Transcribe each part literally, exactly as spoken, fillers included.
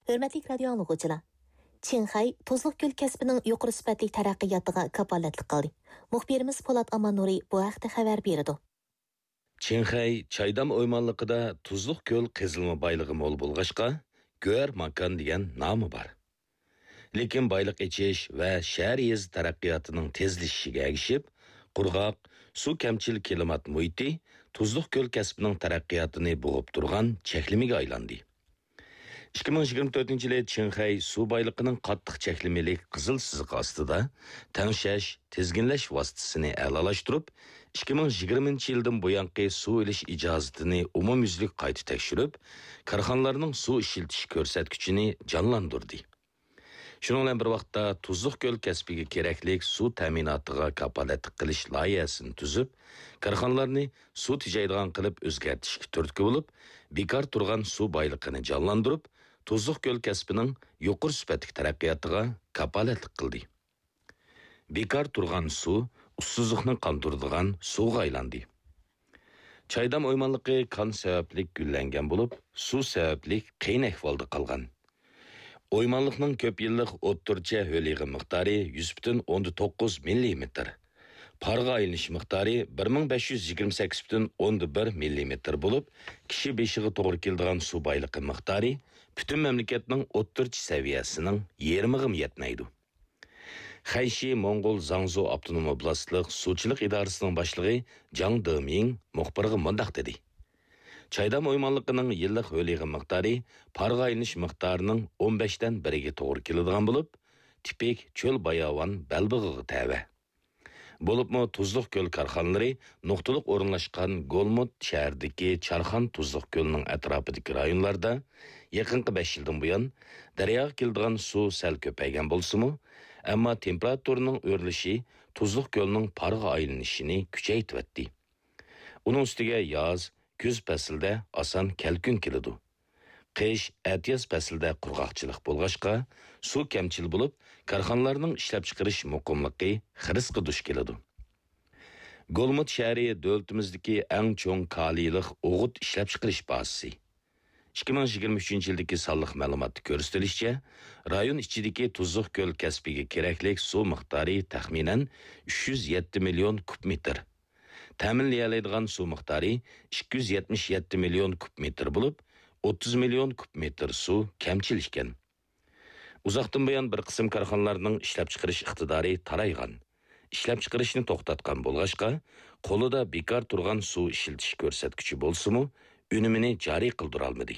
ھۆرمەتلىك رادىيو ئاڭلىغۇچىلار! چىڭخەي تۇزلۇق كۆل كەسپىنىڭ يۇقىرى سۈپەتلىك تەرەققىياتىغا كاپالەتلىك قىلدى. مۇخبىرىمىز پولات ئاماننۇرى بۇ ھەقتە خەۋەر بېرىدۇ. چىڭخەي چايدام ئويمانلىقىدا تۇزلۇق كۆل قېزىلما بايلىقى مول بولغاچقا، گۆھەر ماكان دېگەن نامى بار. لېكىن بايلىق ئېچىش ۋە شەھەر يېزا تەرەققىياتىنىڭ تېزلىشىشىگە ئەگىشىپ، قۇرغاق، سۇ كەمچىل كىلىمات مۇھىتى تۇزلۇق كۆل كەسپىنىڭ تەرەققىياتىنى بوغۇپ تۇرغان چەكلىمىگە ئايلاندى. ئىككى مىڭ يىگىرمە تۆتىنچى يىلى چىڭخەي سۇ بايلىقىنىڭ قاتتىق چەكلىمىلىك قىزىل سىزىقى ئاستىدا تەڭشەش، تىزگىنلەش ۋاسىتىسىنى ئەلالاشتۇرۇپ، ئىككى مىڭ يىگىرمىنچى يىلدىن بۇيانقى سۇ ئېلىش ئىجازىتىنى ئومۇميۈزلۈك قايتا تەكشۈرۈپ، كارخانىلارنىڭ سۇ ئىشلىتىش كۆرسەتكۈچىنى جانلاندۇردى. شۇنىڭ بىلەن بىر ۋاقىتتا، تۇزلۇق كۆل كەسپىگە كېرەكلىك سۇ تەمىناتىغا كاپالەتلىك قىلىش لايىھەسىنى تۈزۈپ، كارخانىلارنى سۇ تېجەيدىغان قىلىپ ئۆزگەرتىشكە تۈرتكە بولۇپ، بىكار تۇرغان سۇ بايلىقىنى جانلاندۇرۇپ، تۇزلۇق كۆل كەسپىنىڭ يۇقىرى سۈپەتلىك تەرەققىياتىغا كاپالەتلىك قىلدى. بىكار تۇرغان سۇ ئۇسسۇزلۇقنى قاندۇرىدىغان سۇغا ئايلاندى. چايدام ئويمانلىقى كان سەۋەبلىك گۈللەنگەن بولۇپ، سۇ سەۋەبلىك قىيىن ئەھۋالدا قالغان. ئويمانلىقنىڭ كۆپ يىللىق ئوتتۇرىچە ھۆل يىغىم مىقدارى يۈز پۈتۈن ئوندىن توققۇز مىللىمېتىر، پارغا ئايلىنىش مىقدارى بىر مىڭ بەش يۈز يىگىرمە سەككىز پۈتۈن ئوندىن بىر مىللىمېتىر بولۇپ، كىشى بېشىغا توغرا كېلىدىغان سۇ بايلىقى مىقدارى پۈتۈن مەملىكەتنىڭ ئوتتۇرىچە سەۋىيەسىنىڭ يېرىمىغىمۇ يەتمەيدۇ. خەيشى موڭغۇل زاڭزۇ ئاپتونوم ئوبلاستلىق سۇچىلىق ئىدارىسىنىڭ باشلىقى جاڭ دېمىڭ مۇخبىرغا مۇنداق دېدى: چايدام ئويمانلىقىنىڭ يىللىق ھۆل يىغىم مىقدارى پارغا ئايلىنىش مىقدارىنىڭ ئون بەشتىن بىرىگە توغرا كېلىدىغان بولۇپ، تىپىك چۆل باياۋان بەلبېغىغا تەۋە. بولۇپمۇ تۇزلۇق كۆل كارخانىلىرى نۇقتىلىق ئورۇنلاشقان گولمۇت شەھىرىدىكى چارخان تۇزلۇق كۆلىنىڭ ئەتراپىدىكى رايونلاردا يېقىنقى بەش يىلدىن بۇيان دەرياغا كېلىدىغان سۇ سەل كۆپەيگەن بولسىمۇ، ئەمما تېمپېراتۇرىنىڭ ئۆرلىشى تۇزلۇق كۆلنىڭ پارغا ئايلىنىشىنى كۈچەيتىۋەتتى. ئۇنىڭ ئۈستىگە ياز، كۈز پەسلىدە ئاسان كەلكۈن كېلىدۇ. قىش، ئەتىياز پەسلىدە قۇرغاقچىلىق بولغاچقا، سۇ كەمچىل بولۇپ، كارخانىلارنىڭ ئىشلەپچىقىرىش مۇقىملىقى خىرىسقا دۇچ كېلىدۇ. گولمۇت شەھىرى دۆلىتىمىزدىكى ئەڭ چوڭ كالىيلىق ئوغۇت ئىشلەپچىقىرىش بازىسى. ئىككى مىڭ يىگىرمە ئۈچىنچى يىلدىكى سانلىق مەلۇماتتا كۆرسىتىلىشىچە، رايون ئىچىدىكى تۇزلۇق كۆل كەسپىگە كېرەكلىك سۇ مىقدارى تەخمىنەن ئۈچ يۈز يەتتە مىليون كۇب مېتىر. تەمىنلىيەلەيدىغان سۇ مىقدارى ئىككى يۈز يەتمىش يەتتە مىليون كۇب مېتىر بولۇپ، ئوتتۇز مىليون كۇب مېتىر سۇ كەمچىل ئىكەن. ئۇزاقتىن بۇيان بىر قىسىم كارخانىلارنىڭ ئىشلەپچىقىرىش ئىقتىدارى تارايغان، ئىشلەپچىقىرىشنى توختاتقان بولغاچقا، قولىدا بىكار تۇرغان سۇ ئىشلىتىش كۆرسەتكۈچى بولسىمۇ، ئۈنۈمىنى جارى قىلدۇرالمىدى.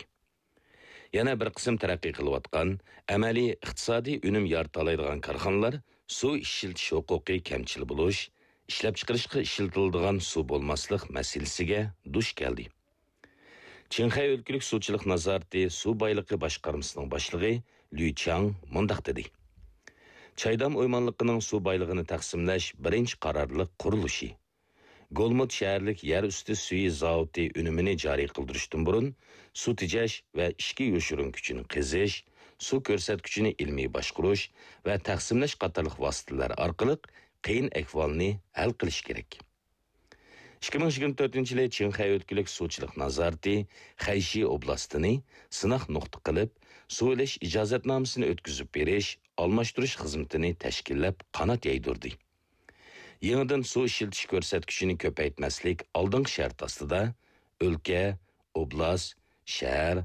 يەنە بىر قىسىم تەرەققىي قىلىۋاتقان، ئەمەلىي ئىقتىسادىي ئۈنۈم يارىتالايدىغان كارخانىلار سۇ ئىشلىتىش ھوقۇقى كەمچىل بولۇش، ئىشلەپچىقىرىشقا ئىشلىتىلىدىغان سۇ بولماسلىق مەسىلىسىگە دۇچ كەلدى. چىڭخەي ئۆلكىلىك سۇچىلىق نازارىتى سۇ بايلىقى باشقارمىسىنىڭ باشلىقى لۈي چاڭ مۇنداق دېدى: چايدام ئويمانلىقىنىڭ سۇ بايلىقىنى تەقسىملەش بىرىنچى قارارلىق قۇرۇلۇشى. گولمۇت شەھەرلىك يەر ئۈستى سۈيى زاۋۇتى ئۈنۈمىنى جارى قىلدۇرۇشتىن بۇرۇن، سۇ تېجەش ۋە ئىچكى يوشۇرۇن كۈچىنى قېزىش، سۇ كۆرسەتكۈچىنى ئىلمىي باشقۇرۇش ۋە تەقسىملەش قاتارلىق ۋاسىتىلەر ئارقىلىق قىيىن ئەھۋالنى ھەل قىلىش كېرەك. ئىككى مىڭ يىگىرمە تۆتىنچى يىلى چىڭخەي ئۆلكىلىك سۇچىلىق نازارىتى خەيشى ئوبلاستىنى سىناق نۇقتا قىلىپ، سۇ ئېلىش ئىجازەتنامىسىنى ئۆتكۈزۈپ بېرىش، ئالماشتۇرۇش خىزمىتىنى تەشكىللەپ قانات يايدۇردى. يېڭىدىن سۇ ئىشلىتىش كۆرسەتكۈچىنى كۆپەيتمەسلىك ئالدىنقى شەرت ئاستىدا، ئۆلكە، ئوبلاست، شەھەر،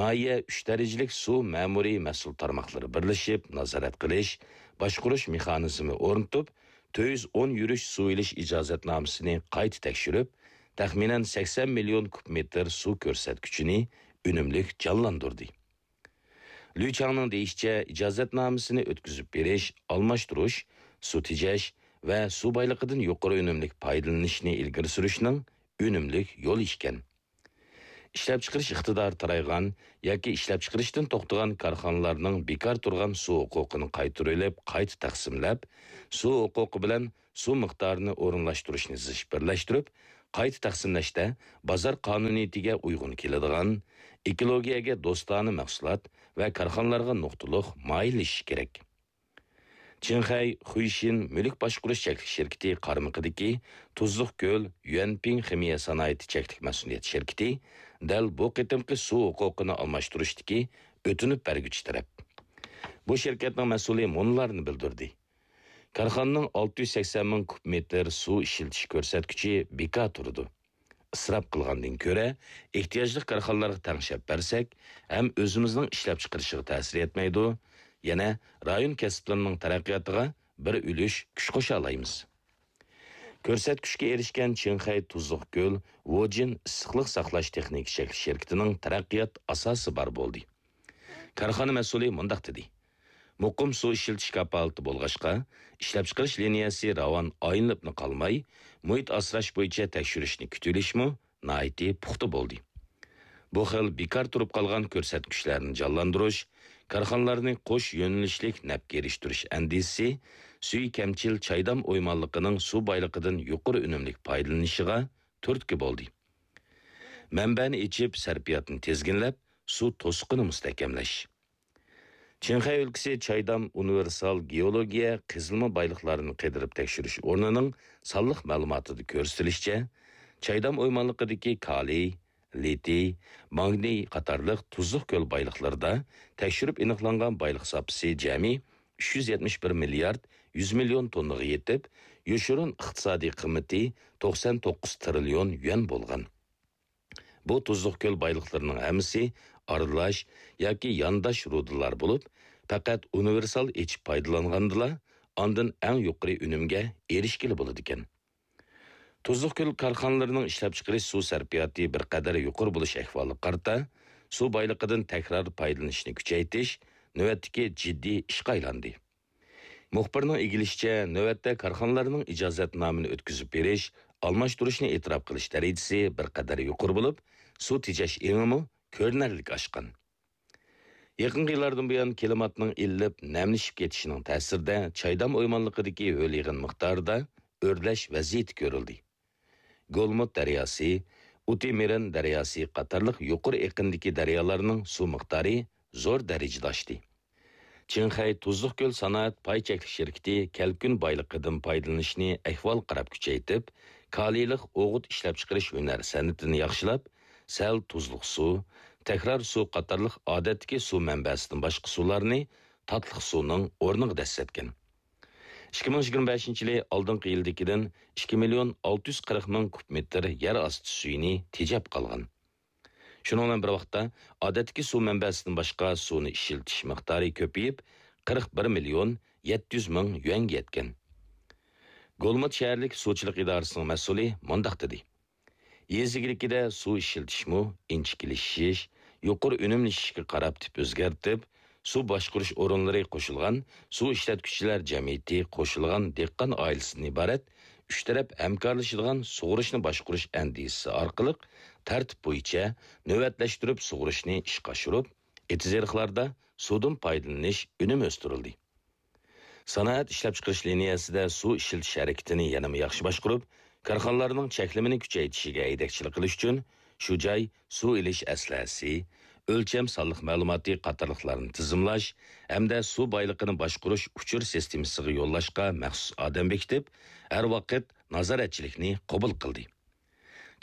ناھىيە ئۈچ دەرىجىلىك سۇ مەمۇرىي مەسئۇل تارماقلىرى بىرلىشىپ نازارەت قىلىش، باشقۇرۇش مېخانىزمى ئورنىتىپ، تۆت يۈز ئون يۈرۈش سۇ ئېلىش ئىجازەتنامىسىنى قايتا تەكشۈرۈپ، تەخمىنەن سەكسەن مىليون كۇب مېتىر سۇ كۆرسەتكۈچىنى ئۈنۈملۈك جانلاندۇردى. لۈي چاڭنىڭ دېيىشىچە، ئىجازەتنامىسىنى ئۆتكۈزۈپ بېرىش، ئالماشتۇرۇش، سۇ تېجەش ۋە سۇ بايلىقىدىن يۇقىرى ئۈنۈملۈك پايدىلىنىشنى ئىلگىرى سۈرۈشنىڭ ئۈنۈملۈك يولى ئىكەن. ئىشلەپچىقىرىش ئىقتىدارى تارايغان ياكى ئىشلەپچىقىرىشتىن توختىغان كارخانىلارنىڭ بىكار تۇرغان سۇ ھوقۇقىنى قايتۇرۇۋېلىپ، قايتا تەقسىملەپ، سۇ ھوقۇقى بىلەن سۇ مىقدارىنى ئورۇنلاشتۇرۇشنى زىچ بىرلەشتۈرۈپ، قايتا تەقسىملەشتە بازار قانۇنىيىتىگە ئۇيغۇن كېلىدىغان، ئېكولوگىيەگە دوستانە مەھسۇلات ۋە كارخانىلارغا نۇقتىلىق مايىللىشىش كېرەك. چىڭخەي خۇيشىن مۈلۈك باشقۇرۇش چەكلىك شىركىتى قارمىقىدىكى تۇزلۇق كۆل يۈەنپىڭ خىمىيە سانائىتى چەكلىك مەسئۇلىيەت شىركىتى دەل بۇ قېتىمقى سۇ ھوقۇقىنى ئالماشتۇرۇشتىكى ئۆتۈنۈپ بەرگۈچى تەرەپ. بۇ شىركەتنىڭ مەسئۇلى مۇنۇلارنى بىلدۈردى: كارخانىنىڭ ئالتە يۈز سەكسەن مىڭ كۇب مېتىر سۇ ئىشلىتىش كۆرسەتكۈچى بىكار تۇرىدۇ. ئىسراپ قىلغاندىن كۆرە، ئېھتىياجلىق كارخانىلارغا تەڭشەپ بەرسەك، ھەم ئۆزىمىزنىڭ ئىشلەپچىقىرىشىغا تەسىر يەتمەيدۇ، يەنە رايون كەسىپلىرىنىڭ تەرەققىياتىغا بىر ئۈلۈش كۈچ قوشالايمىز. كۆرسەتكۈچكە ئېرىشكەن چىڭخەي تۇزلۇق كۆل ۋوجىن ئىسسىقلىق ساقلاش تېخنىكا شەكلى شىركىتىنىڭ تەرەققىيات ئاساسى بار بولدى. كارخانا مەسئۇلى مۇنداق دېدى: مۇقىم سۇ ئىشلىتىش كاپالىتى بولغاچقا، ئىشلەپچىقىرىش لىنىيەسى راۋان ئايلىنىپلا قالماي، مۇھىت ئاسراش بويىچە تەكشۈرۈشنى كۈتۈۋېلىشمۇ ناھايىتى پۇختا بولدى. بۇ خىل بىكار تۇرۇپ قالغان كۆرسەتكۈچلەرنى جانلاندۇرۇش، كارخانىلارنى قوش يۆنىلىشلىك نەپكە ئېرىشتۈرۈش ئەندىزىسى سۈيى كەمچىل چايدام ئويمانلىقىنىڭ سۇ بايلىقىدىن يۇقىرى ئۈنۈملۈك پايدىلىنىشىغا تۈرتكە بولدى. مەنبەنى ئېچىپ، سەرپىياتنى تىزگىنلەپ، سۇ توسۇقىنى مۇستەھكەملەش. چىڭخەي ئۆلكىسى چايدام ئۇنىۋېرسال گېئولوگىيە قېزىلما بايلىقلارنى قېدىرىپ تەكشۈرۈش ئورنىنىڭ سانلىق مەلۇماتىدا كۆرسىتىلىشىچە، چايدام ئويمانلىقىدىكى كالىي، لىتىي، ماگنىي قاتارلىق تۇزلۇق كۆل بايلىقلىرىدا تەكشۈرۈپ ئېنىقلانغان بايلىق زاپىسى جەمئىي ئۈچ يۈز يەتمىش بىر مىليارد يۈز مىليون توننىغا يېتىپ، يوشۇرۇن ئىقتىسادىي قىممىتى توقسان توققۇز تىرىليون يۈەن بولغان. بۇ تۇزلۇق كۆل بايلىقلىرىنىڭ ھەممىسى ئارىلاش ياكى يانداش رۇدىلار بولۇپ، پەقەت ئۇنىۋېرسال ئېچىپ پايدىلانغاندىلا، ئاندىن ئەڭ يۇقىرى ئۈنۈمگە ئېرىشكىلى بولىدىكەن. تۇزلۇق كۆل كارخانىلىرىنىڭ ئىشلەپچىقىرىش سۇ سەرپىياتى بىر قەدەر يۇقىرى بولۇش ئەھۋالىغا قارىتا، سۇ بايلىقىدىن تەكرار پايدىلىنىشنى كۈچەيتىش نۆۋەتتىكى جىددىي ئىشقا ئايلاندى. مۇخبىرنىڭ ئىگىلىشىچە، نۆۋەتتە كارخانىلارنىڭ ئىجازەتنامىنى ئۆتكۈزۈپ بېرىش، ئالماشتۇرۇشنى ئېتىراپ قىلىش دەرىجىسى بىر قەدەر يۇقىرى بولۇپ، سۇ تېجەش ئېڭىمۇ كۆرۈنەرلىك ئاشقان. يېقىنقى يىللاردىن بۇيان كىلىماتنىڭ ئىللىپ، نەملىشىپ كېتىشىنىڭ تەسىرىدە چايدام ئويمانلىقىدىكى ھۆل يېغىن مىقدارىدا ئۆرلەش ۋەزىيىتى كۆرۈلدى. گولمۇت دەرياسى، ئۇتىمېرىن دەرياسى قاتارلىق يۇقىرى ئېقىندىكى دەريالارنىڭ سۇ مىقدارى زور دەرىجىدە ئاشتى. چىڭخەي تۇزلۇق كۆل سانائەت پاي چەكلىك شىركىتى كەلكۈن بايلىقىدىن پايدىلىنىشنى ئەھۋال قاراپ كۈچەيتىپ، كالىيلىق ئوغۇت ئىشلەپچىقىرىش ھۈنەر سەنئىتىنى ياخشىلاپ، سەل تۇزلۇق سۇ، تەكرار سۇ قاتارلىق ئادەتتىكى سۇ مەنبەسىدىن باشقا سۇلارنى تاتلىق سۇنىڭ ئورنىغا دەسسەتكەن. ئىككى مىڭ يىگىرمە بەشىنچى يىلى ئالدىنقى يىلدىكىدىن ئىككى مىليون ئالتە يۈز قىرىق مىڭ كۇب مېتىر يەر ئاستى سۈيىنى تېجەپ قالغان. شۇنىڭ بىلەن بىر ۋاقىتتا، ئادەتتىكى سۇ مەنبەسىدىن باشقا سۇنى ئىشلىتىش مىقدارى كۆپىيىپ، قىرىق بىر مىليون يەتتە يۈز مىڭ يۈەنگە يەتكەن. گولمۇت شەھەرلىك سۇچىلىق ئىدارىسىنىڭ مەسئۇلى مۇنداق دېدى: يېزا ئىگىلىكىدە سۇ ئىشلىتىشمۇ ئىنچىكىلىشىش، يۇقىرى ئۈنۈملىشىشكە قاراپ تىپ ئۆزگەرتىپ، سۇ باشقۇرۇش ئورۇنلىرى قوشۇلغان سۇ ئىشلەتكۈچىلەر جەمئىيىتى قوشۇلغان دېھقان ئائىلىسىدىن ئىبارەت ئۈچ تەرەپ ھەمكارلىشىدىغان سۇغۇرۇشنى باشقۇرۇش ئەندىزىسى ئارقىلىق تەرتىپ بويىچە نۆۋەتلەشتۈرۈپ سۇغۇرۇشنى ئىشقا ئاشۇرۇپ، ئېتىز-ئېرىقلاردا سۇدىن پايدىلىنىش ئۈنۈمى ئۆستۈرۈلدى. سانائەت ئىشلەپچىقىرىش لىنىيەسىدە سۇ ئىشلىتىش ھەرىكىتىنى يەنىمۇ ياخشى باشقۇرۇپ، كارخانىلارنىڭ چەكلىمىنى كۈچەيتىشىگە ھەيدەكچىلىك قىلىش ئۈچۈن شۇ جاي سۇ ئېلىش ئەسلىھەسى، ئۆلچەم سانلىق مەلۇماتى قاتارلىقلارنى تىزىملاش ھەمدە سۇ بايلىقىنى باشقۇرۇش ئۇچۇر سىستېمىسىغا يوللاشقا مەخسۇس ئادەم بېكىتىپ، ھەر ۋاقىت نازارەتچىلىكنى قوبۇل قىلدى.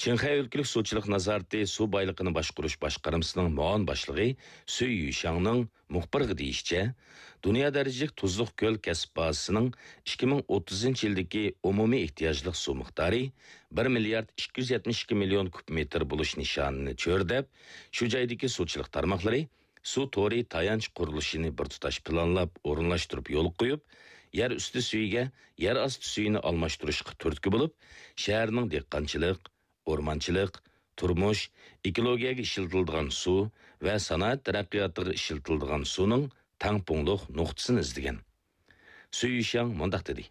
چىڭخەي ئۆلكىلىك سۇچىلىق نازارىتى سۇ بايلىقىنى باشقۇرۇش باشقارمىسىنىڭ مۇئاۋىن باشلىقى سۈي يۈشاڭنىڭ مۇخبىرغا دېيىشىچە، دۇنيا دەرىجىلىك تۇزلۇق كۆل كەسىپ بازىسىنىڭ ئىككى مىڭ ئوتتۇزىنچى يىلدىكى ئومۇمىي ئېھتىياجلىق سۇ مىقدارى بىر مىليارد ئىككى يۈز يەتمىش ئىككى مىليون كۇب مېتىر بولۇش نىشانىنى چۆرىدەپ، شۇ جايدىكى سۇچىلىق تارماقلىرى سۇ تورى تايانچ قۇرۇلۇشىنى بىر تۇتاش پىلانلاپ ئورۇنلاشتۇرۇپ يولغا قويۇپ، يەر ئۈستى سۈيىگە يەر ئاستى سۈيىنى ئالماشتۇرۇشقا تۈرتكە بولۇپ، شەھەرنىڭ دېھقانچىلىق، ئورمانچىلىق، تۇرمۇش، ئېكولوگىيەگە ئىشلىتىلىدىغان سۇ ۋە سانائەت تەرەققىياتىغا ئىشلىتىلىدىغان سۇنىڭ تەڭپۇڭلۇق نۇقتىسىنى ئىزدىگەن. سۈي يۈشياڭ مۇنداق دېدى: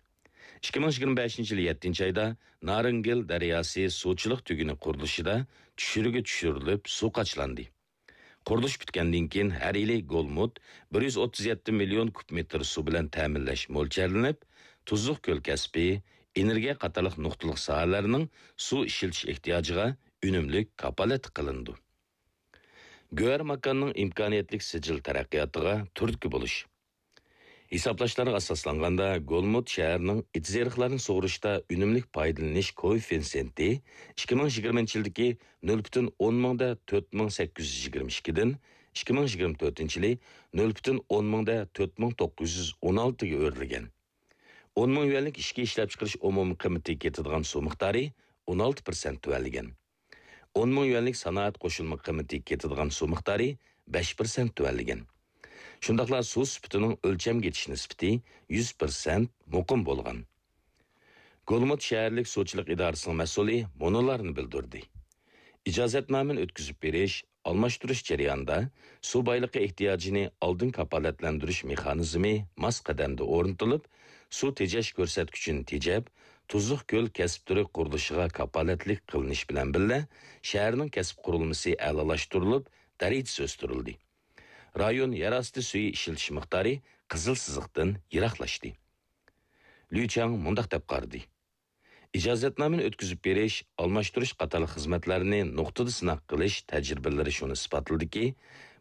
ئىككى مىڭ يىگىرمە بەشىنچى يىلى يەتتىنچى ئايدا نارىنگىل دەرياسى سۇچىلىق تۈگۈنى قۇرۇلۇشىدا چۈشۈرۈگە چۈشۈرۈلۈپ سۇ قاچىلاندى. قۇرۇلۇش پۈتكەندىن كېيىن ھەر يىلى گولمۇت بىر يۈز ئوتتۇز يەتتە مىليون كۇب مېتىر سۇ بىلەن تەمىنلەش مۆلچەرلىنىپ، تۇزلۇق كۆل كەسپى، ئېنېرگىيە قاتارلىق نۇقتىلىق ساھەلەرنىڭ سۇ ئىشلىتىش ئېھتىياجىغا ئۈنۈملۈك كاپالەتلىك قىلىنىدۇ. گۆھەر ماكاننىڭ ئىمكانىيەتلىك سىجىل تەرەققىياتىغا تۈرتكە بولۇش. ھېسابلاشلارغا ئاساسلانغاندا، گولمۇت شەھەرنىڭ ئېتىز-ئېرىقلارنى سۇغۇرۇشتا ئۈنۈملۈك پايدىلىنىش كوئېففىتسېنتى ئىككى مىڭ يىگىرمىنچى يىلدىكى نۆل پۈتۈن ئون مىڭدا تۆت مىڭ سەككىز يۈز يىگىرمە ئىككىدىن ئىككى مىڭ يىگىرمە تۆتىنچى يىلى نۆل پۈتۈن ئون مىڭدا تۆت مىڭ توققۇز يۈز ئون ئالتىگە ئۆرلىگەن. ئون مىڭ يۈەنلىك ئىچكى ئىشلەپچىقىرىش ئومۇمىي قىممىتىگە كېتىدىغان سۇ مىقدارى ئون ئالتە پىرسەنت تۆۋەنلىگەن. ئون مىڭ يۈەنلىك سانائەت قوشۇلما قىممىتىگە كېتىدىغان سۇ مىقدارى بەش پىرسەنت تۆۋەنلىگەن. شۇنداقلا سۇ سۈپىتىنىڭ ئۆلچەمگە يېتىش نىسبىتى يۈز پىرسەنت مۇقىم بولغان. گولمۇت شەھەرلىك سۇچىلىق ئىدارىسىنىڭ مەسئۇلى مۇنۇلارنى بىلدۈردى: ئىجازەتنامىنى ئۆتكۈزۈپ بېرىش، ئالماشتۇرۇش جەريانىدا سۇ بايلىقى ئېھتىياجىنى ئالدىن كاپالەتلەندۈرۈش مېخانىزمى ماس قەدەمدە ئورنىتىلىپ، سۇ تېجەش كۆرسەتكۈچىنى تېجەپ، تۇزلۇق كۆل كەسىپ تۈرى قۇرۇلۇشىغا كاپالەتلىك قىلىنىش بىلەن بىللە، شەھەرنىڭ كەسىپ قۇرۇلمىسى ئەلالاشتۇرۇلۇپ، دەرىجىسى ئۆستۈرۈلدى. رايون يەر ئاستى سۈيى ئىشلىتىش مىقدارى قىزىل سىزىقتىن يىراقلاشتى. لۈ چاڭ مۇنداق دەپ قارىدى: ئىجازەتنامىنى ئۆتكۈزۈپ بېرىش، ئالماشتۇرۇش قاتارلىق خىزمەتلەرنى نۇقتىدا سىناق قىلىش تەجرىبىلىرى شۇنى ئىسپاتلىدىكى،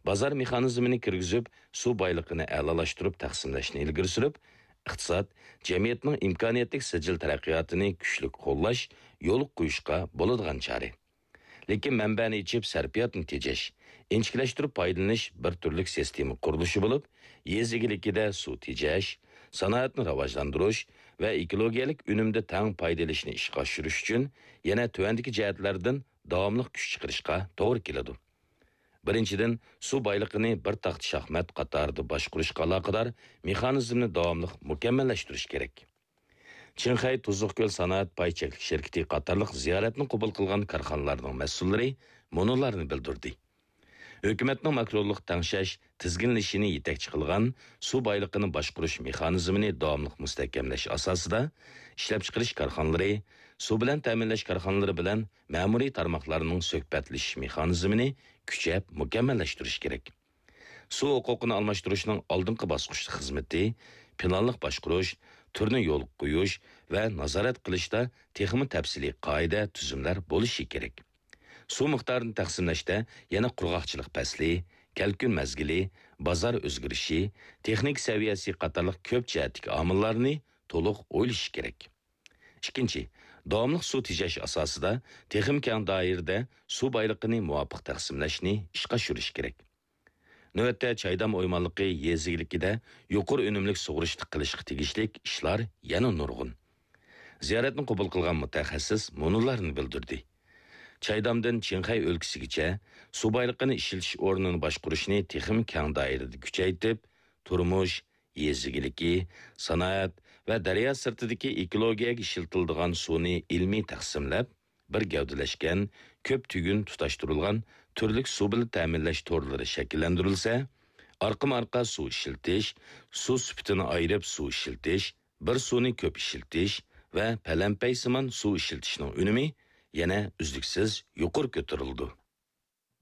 بازار مېخانىزمىنى كىرگۈزۈپ، سۇ بايلىقىنى ئەلالاشتۇرۇپ تەقسىملەشنى ئىلگىرى سۈرۈپ، ئىقتىساد، جەمئىيەتنىڭ ئىمكانىيەتلىك سىجىل تەرەققىياتىنى كۈچلۈك قوللاش، يولغا قويۇشقا بولىدىغان چارە. لېكىن مەنبەنى ئېچىپ، سەرپىياتنى تېجەش، ئىنچىكىلەشتۈرۈپ پايدىلىنىش بىر تۈرلۈك سىستېما قۇرۇلۇشى بولۇپ، يېزا ئىگىلىكىدە سۇ تېجەش، سانائەتنى راۋاجلاندۇرۇش ۋە ئېكولوگىيەلىك ئۈنۈمدە تەڭ پايدا ئېلىشنى ئىشقا ئاشۇرۇش ئۈچۈن يەنە تۆۋەندىكى جەھەتلەردىن داۋاملىق كۈچ چىقىرىشقا توغرا كېلىدۇ. بىرىنچىدىن، سۇ بايلىقىنى بىر تاختا شاھمات قاتارىدا باشقۇرۇشقا ئالاقىدار مېخانىزمنى داۋاملىق مۇكەممەللەشتۈرۈش كېرەك. چىڭخەي تۇزلۇق كۆل سانائەت پاي چەكلىك شىركىتى قاتارلىق زىيارەتنى قوبۇل قىلغان كارخانىلارنىڭ مەسئۇللىرى مۇنۇلارنى بىلدۈردى: ھۆكۈمەتنىڭ ماكرولۇق تەڭشەش، تىزگىنلىشىنى يېتەكچى قىلغان سۇ بايلىقىنى باشقۇرۇش مېخانىزمىنى داۋاملىق مۇستەھكەملەش ئاساسىدا، ئىشلەپچىقىرىش كارخانىلىرى، سۇ بىلەن تەمىنلەش كارخانىلىرى بىلەن مەمۇرىي تارماقلارنىڭ سۆھبەتلىشىش مېخانىزمىنى كۈچەپ مۇكەممەللەشتۈرۈش كېرەك. سۇ ھوقۇقىنى ئالماشتۇرۇشنىڭ ئالدىنقى باسقۇچلۇق خىزمىتى، پىلانلىق باشقۇرۇش، تۈرنى يولغا قويۇش ۋە نازارەت قىلىشتا تېخىمۇ تەپسىلىي قائىدە، تۈزۈملەر بولۇشى كېرەك. سۇ مىقدارىنى تەقسىملەشتە يەنە قۇرغاقچىلىق پەسلى، كەلكۈن مەزگىلى، بازار ئۆزگىرىشى، تېخنىكا سەۋىيەسى قاتارلىق كۆپ جەھەتتىكى ئامىللارنى تولۇق ئويلىشىش كېرەك. ئىككىنچى، داۋاملىق سۇ تېجەش ئاساسىدا تېخىمۇ كەڭ دائىرىدە سۇ بايلىقىنى مۇۋاپىق تەقسىملەشنى ئىشقا ئاشۇرۇش كېرەك. نۆۋەتتە، چايدام ئويمانلىقى يېزا ئىگىلىكىدە يۇقىرى ئۈنۈملۈك سۇغىرىشنى قىلىشقا تېگىشلىك ئىشلار يەنە نۇرغۇن. زىيارەتنى قوبۇل قىلغان مۇتەخەسسىس مۇنۇلارنى بىلدۈردى: چايدامدىن چىڭخەي ئۆلكىسىگىچە سۇ بايلىقىنى ئىشلىتىش ئورنىنى باشقۇرۇشنى تېخىمۇ كەڭ دائىرىدە كۈچەيتىپ، تۇرمۇش، يېزا ئىگىلىكى، سانائەت ۋە دەريا سىرتىدىكى ئېكولوگىيەگە ئىشلىتىلىدىغان سۇنى ئىلمىي تەقسىملەپ، بىر گەۋدىلەشكەن، كۆپ تۈگۈن تۇتاشتۇرۇلغان تۈرلۈك سۇ بىلەن تەمىنلەش تورلىرى شەكىللەندۈرۈلسە، ئارقىمۇ ئارقا سۇ ئىشلىتىش، سۇ سۈپىتىنى ئايرىپ سۇ ئىشلىتىش، بىر سۇنى كۆپ ئىشلىتىش ۋە پەلەمپەيسىمان سۇ ئىشلىتىشنىڭ ئۈنۈمى يەنە ئۈزلۈكسىز يۇقىرى كۆتۈرۈلىدۇ.